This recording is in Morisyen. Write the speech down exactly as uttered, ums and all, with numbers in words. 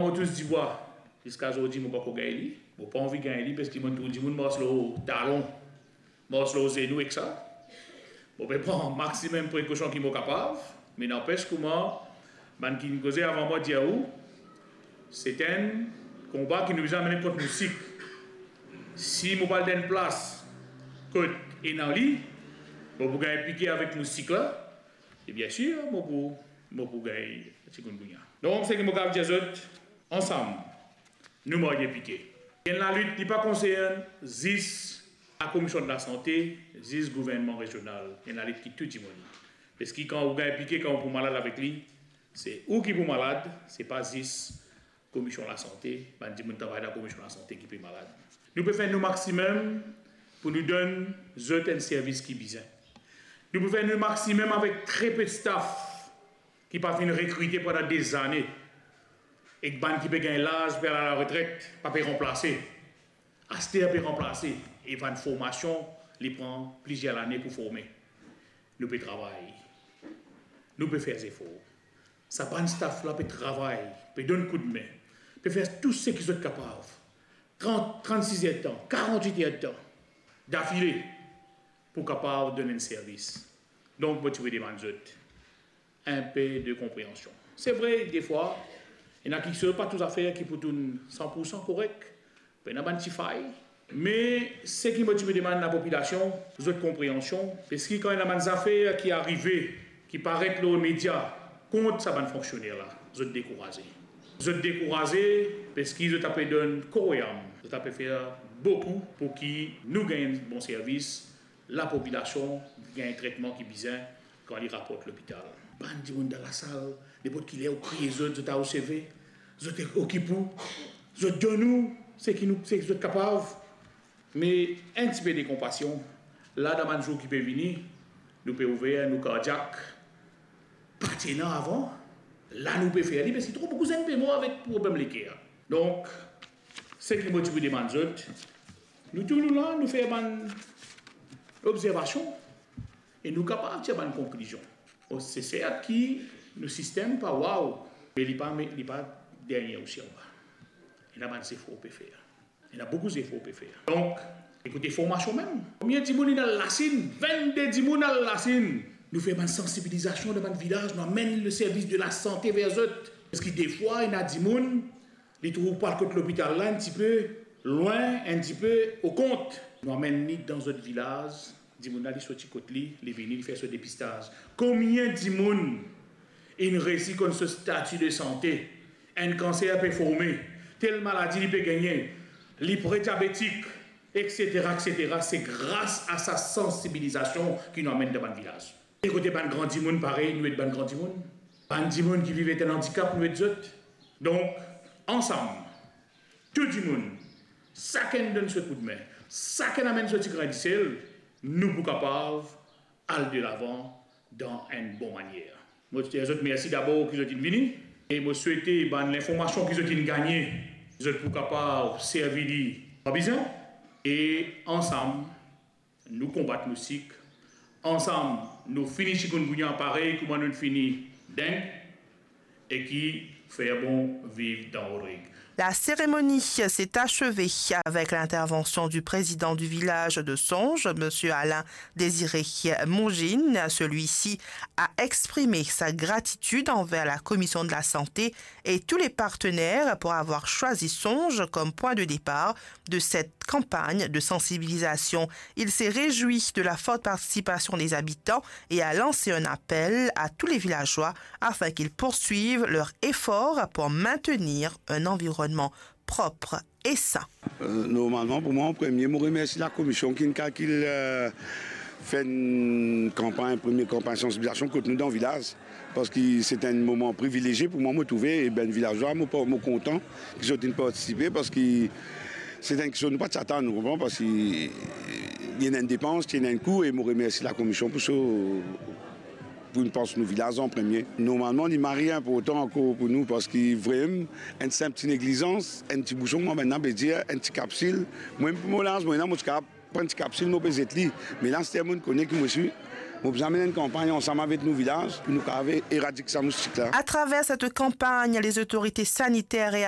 Mo tous dibwa, ziska zordi mo pa'nn gagn li. Mo pa anvi gagn li, parski mo trouv dimoun mars lor talon, mars lor zenou ek sa. Mo pe pran maximum prekosion ki mo kapav, me nanpes kouma bann ki finn koze avan mwa dir ou, se enn konba ki nou bizin amenn kont mousik. Si mo pa al dan enn plas kot ena li, mo pou gagn pike avek mousik la, e bien sir, mo pou, mo pou gagn chikungunya. Donk, seki mo kapav dir zot, ansam, nou marye pike. Enn lalit, li pa konsern zis Lakomision de Lasante, zis gouvernman rezional. Enn lalit ki tou dimoun. Parski kan ou gagn pike, kan ou pou malad avek li, se ou ki pou malad, se pa zis Komision Lasante, bann dimoun travay dan Komision Lasante ki pe malad. Nou pe fer nou maximum pou nou donn zot enn servis ki bizin. Nou pe fer nou maximum avek tre pe staff ki pa finn rekrite pandan dezane, ek bann ki pe gagn laz, pe al aretret, pa pe ranplase. Aster pe ranplase, e bann formasion, li pran plizier lane pou forme. Nou pe travay. Nou pe fer zefor. Sa bann staff la pe travay, pe donn koudme, pe fer tou seki zot kapav. Trant, trannsis er de tan, karant-wit er de tan dafile pou kapav donn enn servis. Donk, mo ti pe demann zot enn pe de konpreansion. Se vre, defwa, ena kiksoz, pa tou zafer ki pou tourn san pou san korek. Ena bann ti fay. Me seki mo ti pe demann lapopilasion, zot konpreansion, parski kan ena bann zafer ki arive, ki paret lor media kont sa bann fonksioner la, zot dekouraze. Zot dekouraze parski zot ape donn kor e am, zot ape fer boukou pou ki nou gagn bon servis, lapopilasion gagn tretman ki bizin kan li raport lopital. Bann dimoun dan lasal, nenport ki ler ou kriye zot, zot a resevir, zot okip ou, zot donn ou seki nou, seki zot kapav. Me enn tipe de konpasion, la dan bann zour ki pe vini, nou pe ouver nou kardiak, pa ti ena avan, la nou pe fer li, parski tro boukou zenn pe mor avek problem leker. Donk, seki mo ti pou demann zot, nou tou nou la, nou fer bann obzervasion e nou kapav tir bann konklizion. Bon, se sert ki nou sistem pa waw, me li pa, me li pa dernie osi anba. Ena bann zefor pe fer. Ena boukou zefor pe fer. Donk, ekoute formasion mem. Konbien dimoun inn al Lasinn? Vennde dimoun al Lasinn. Nou fer bann sansibilizasion dan bann vilaz, nou amenn le servis de lasante ver zot. Parski defwa, ena dimoun, li trouv pou al kot lopital la enn tipe lwin, enn tipe o kont. Nou amenn li dan zot vilaz, dimoun la, li sorti kot li, li vini, li fer so depistaz. Konbien dimoun inn resi konn so stati de sante? Enn kanser pe forme, tel maladi li pe gagne, li pre diabetik, etsetera, etsetera. Se gras a sa sansibilizasion ki nou amenn dan bann vilaz. E kote bann gran dimoun parey, nou ed bann gran dimoun. Bann dimoun ki viv ek enn andikap, nou ed zot. Donk, ansam, tou dimoun, sakenn donn so koudme, sakenn amenn so ti grin disel, nou pou kapav al delavan dan enn bon manier. Mo dir zot mersi dabor ki zot inn vini, e mo swete bann linformasion ki zot inn gagne, zot pou kapav servi li kan bizin, e ansam, nou konbat mousik, ansam, nou fini chikungunya parey kouma nou fini deng, e ki fer bon viv dan Rodrig. La cérémonie s'est achevée avec l'intervention du président du village de Songe, monsieur Alain Désiré Mongine. Celui-ci a exprimé sa gratitude envers la Commission de la Santé et tous les partenaires pour avoir choisi Songe comme point de départ de cette campagne de sensibilisation. Il s'est réjoui de la forte participation des habitants et a lancé un appel à tous les villageois afin qu'ils poursuivent leur effort pour maintenir un environnement propre et sain. Euh, normalman, pou mwa, an premie, mo remersi lakomision ki'nn kalkil, euh, fer enn kanpagn, premie kanpagn sansibilizasion kot nou dan vilaz. Parski se enn moman privilezie pou mwa, mo trouve, e bann vilazwa, mo pa, mo kontan ki zot inn partisipe, parski se enn kiksoz nou pa ti atann, ou konpran, parski li ena enn depans, li ena enn kou, e mo remersi lakomision pou so, pou inn pans nou vilaz an premie. Normalman, li mari inportan ankor pou nou, parski vremem, enn sinp ti neglizans, enn ti bouson, mwa, mintnan, be dir, enn ti kapsil, mwa, pou mo laz, mwa, ena, mo ti kapav pran ti kapsil, mo pe zet li. Me la, aster, mo kone ki mo swi Mo bizin amenn enn kanpagn ansam avek nou vilaz pou nou kapav eradik sa moustik la. À travers cette campagne, les autorités sanitaires et